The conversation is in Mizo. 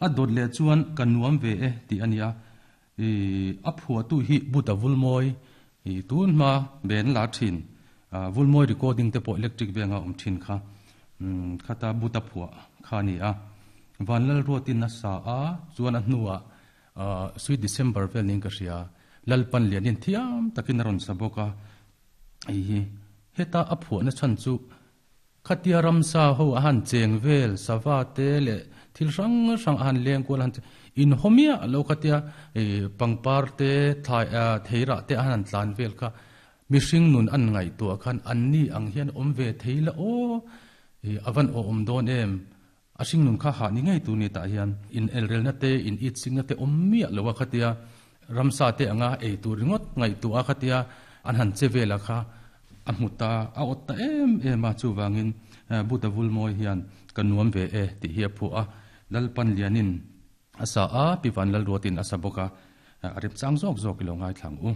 A dawt leh chuan ka nuam ve e tih a ni a, a phuahtu hi Buddha Vulmawi tun hma ben la thin, Vulmawi recording te pawh electric venga awm thin kha, khata Buddha phuah kha a ni a. Vanlalruatin a sa a, chuan a hnuah Sweet December vel niin ka hria, Lalpan lianin thiam takin a rawn sa bawk a, hei hi heta a phuahna chhan chu Khatia ramsa ho a han cheng vel, sava te leh thil hrang hrang a han leng kual a han in haw miah lo khatia pangpar te thlai theirah te a han tlan vel kha mihring nun an ngaihtuah khan anni ang hian awm ve thei la aw a van awm dawn em? A hringnun kha hah ni ngei tur ni tah hian in elrelna te, in itsikna te awm miah lo a khatia ramsa te anga ei tur ringawt ngaihtuah a khatia an han che vel a kha a hmu ta, a awt ta em em a, chuvangin Buddha Vulmawi hian ka nuam ve e tih hi a phuah a, Lalpan lianin a sa a, Pi Vanlalruatin a sa bawk a, a remchang zawk zawk i lo ngaithla ang u.